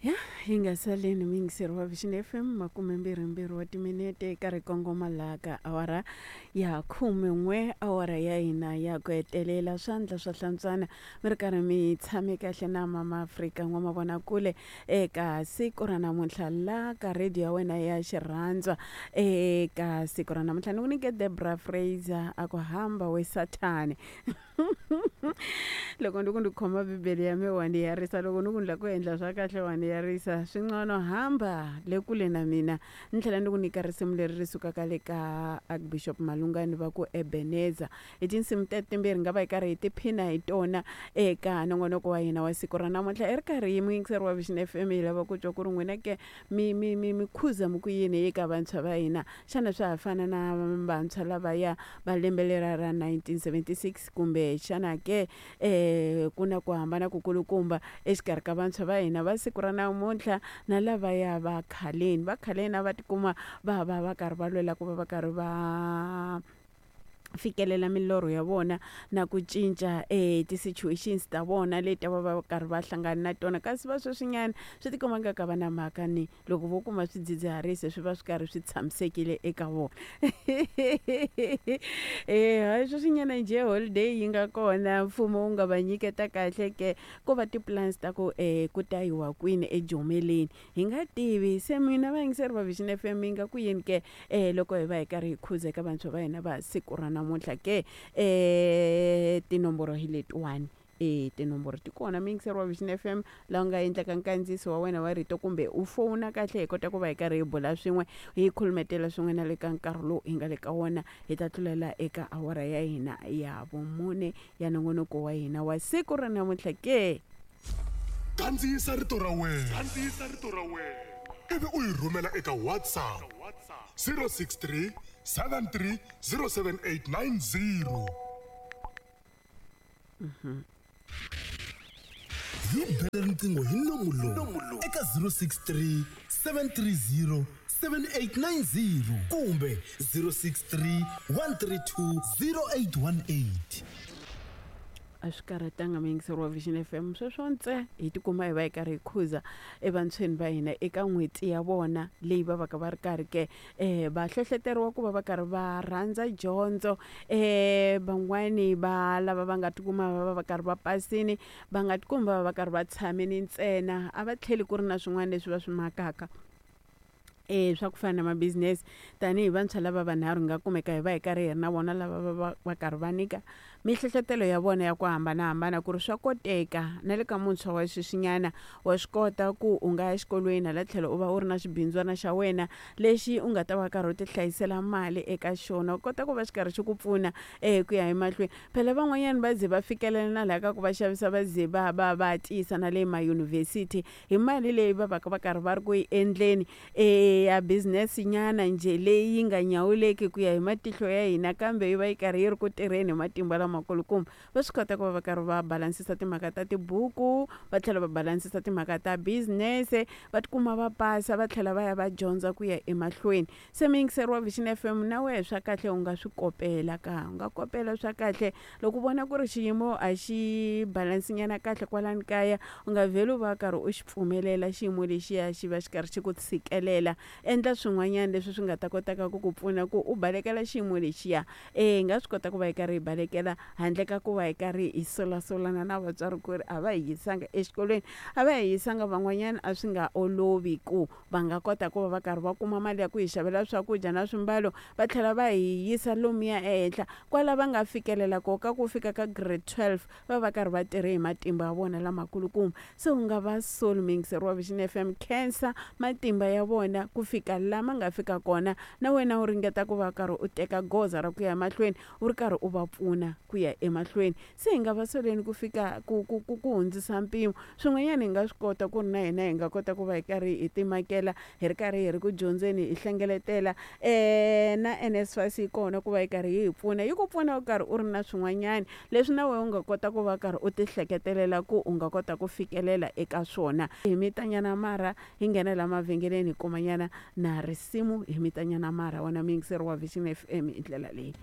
Ya hi nga saleni muyingiseri wa Vision FM makumembirhimbirhi wa timinete eka ri kongoma laha ka awara ya khumen'we awara ya hina ya ku hetelela swandla swa hlantswana mi ri karhi mi tshame kahle na mama Afrika n'wamavonakule eka siku ra namuntlha la ka radio ya wena ya xirhandzwa eka siku ra namuntlha ni ku nyike Debra Fraser a ku hamba we sathane loko ni ku ni khoma bibele ya me wa ni yarisa loko ni ku ni lava ku endla swa kahle wa ni yarisa swi ngcono hamba le kule na mina ni tlhela ni ku nyika risimu leri ri sukaka le ka archbishop malungani va ku ebeneza hi tinsimu teto timbirhi nga va hi karhi hi tiphina hi tona eka nongonoko wa hina wa siku ra namuntlha i ri karhi muyingiseri wa vision f m hi lava ku twa ku ri n'wina ke mi mi mi mi khuza mi ku yini eka vantshwa va hina xana swa ha fana na vantshwa lavaya va lembe lera ra 1976 kumbe xana ke um ku na ku hambana ku kulukumba exikarhi ka vantshwa va hina va siku ra namuntlha na lavaya va khaleni va khaleni a va tikuma va va va karhi va lwela ku va va karhi va fikelela milorho ya vona na ku cinca e ti-situations ta vona leti va va karhi va hlangana na tona kasi va sweswinyana swi tikomba nga ka va na mhaka ni loko vo kuma swidzidziharisi swi va swi karhi swi tshamisekile eka vona e hayi sweswinyana njhe holiday yi nga kona mfumo wu nga va nyiketa kahle ke ko va ti-plans ta ku um ku ta yiwa kwini ejomeleni hi nga tivi se mina vayingiseri va Vision F M yi nga ku yini ke um loko hi va hi karhi hi khuza eka vantshwa va hina va siku ra namuntlha ke um tinomboro hi letiwani e tinomboro ti kona muyingiseri wa Vision F M laha u nga endlaka nkandziyiso wa wena wa rito kumbe u fowuna kahle hi kota ku va hi karhi hi bula swin'we hi khulumetela swin'we na le ka nkarhi lowu hi nga le ka wona hi ta tlulela eka awara ya hina ya vumune ya nongonoko wa hina wa siku ra namuntlha ke Kandziyisa rito ra wena. Kandziyisa rito ra wena. Ivi u yi rhumela eka WhatsApp 063 73 07890. Hi bele riqingho hi nomu lowu eka 063 730 7890 kumbe 063 132 0818. A swi karhatanga muyingiseri wa Vision F_M sweswo ntse hi tikuma hi va hi karhi hi khuza evantshweni va hina eka n'hweti ya vona leyi va va ka va ri karhi ke va hlohloteriwa ku va va karhi va rhandza dyondzo van'wani va lava va nga tikuma va va va karhi va pasini va nga tikumi va va va karhi va tshamini ntsena a va tlheli ku ri na swin'wana leswi va swi makaka. E swa ku fana na ma-business tanihi vantshwa lava vanharhu hi nga kumeka hi va hi karhi hi ri na vona lava va va va karhi va nyika mihlohlotelo ya vona ya ku hambanahambana ku ri swa koteka na le ka muntshwa wa sweswinyana wa swi kota ku u nga ya exikolweni hala tlhelo u va u ri na xibindzwana xa wena lexi u nga ta va karhi u ti hlayisela mali eka xona u kota ku va xi karhi xi ku pfuna ku ya emahlweni phela van'wanyana va ze va fikelela na laha ka ku va xavisa va ze va va va tiyisa na le mayunivhesiti hi mali leyi va va ka va karhi va ri ku yi endleni e ya business nyana njhe leyi yi nga nyawuleki ku ya hi matihlo ya hina kambe yi va yi karhi yi ri ku tirheni hi matimba lamakulukumba va swi kota ku va va karhi va balansisa timhaka ta tibuku va tlhela va balansisa timhaka ta business va tikuma va pasa va tlhela va ya va dyondza ku ya emahlweni se muyingiseri wa Vision F_M na wehe swa kahle u nga swi kopela ka u nga kopela swa kahle loko u vona ku ri xiyimo a xi balance nyana kahle kwalani kaya u nga vheli u va karhi u xi pfumelela xiyimo lexiya xi va xi karhi xi ku tshikelela endla swin'wanyana leswi swi nga ta kotaka ku ku pfuna ku u balekela xiyimo lexiya e hi nga swi kota ku va hi karhi hi balekela handle ka ku va hi karhi hi solasolana na vatswari ku ri a va hi yisanga exikolweni a va hi yisanga van'wanyana a swi nga olovi ku va nga kota ku va va karhi va kuma mali ya ku hi xavela swakudya na swimbalo va tlhela va hi yisa lomuya ehenhla kwala va nga fikelela ko ka ku fika ka grade 12 va va karhi va tirhe hi matimba ya vona lamakulukumba se u nga va soli muyingiseri wa Vision F_M khensa matimba ya vona ku fika lama nga fika kona na wena u ringeta ku va karhi u teka goza ra ku ya emahlweni u ri karhi u va pfuna ku ya emahlweni se hi nga va soleni ku fika ku ku ku ku hundzisa mpimo swin'wanyana hi nga swi kota ku ri na hina hi nga kota ku va hi karhi hi timakela hi ri karhi hi ri ku dyondzeni hi hlengeletela na N_S_F_A_S yi kona ku va yi karhi yi hi pfuna yi ku pfuna u karhi u ri na swin'wanyana leswi na wena u nga kota ku va karhi u ti hleketelela ku u nga kota ku fikelela eka swona hi mitanyana marha hi nghena la mavhengeleni hi kumanyana na risimu hi mitanyana marha wena muyingiseri wa Vision F_M hi ndlela leyi.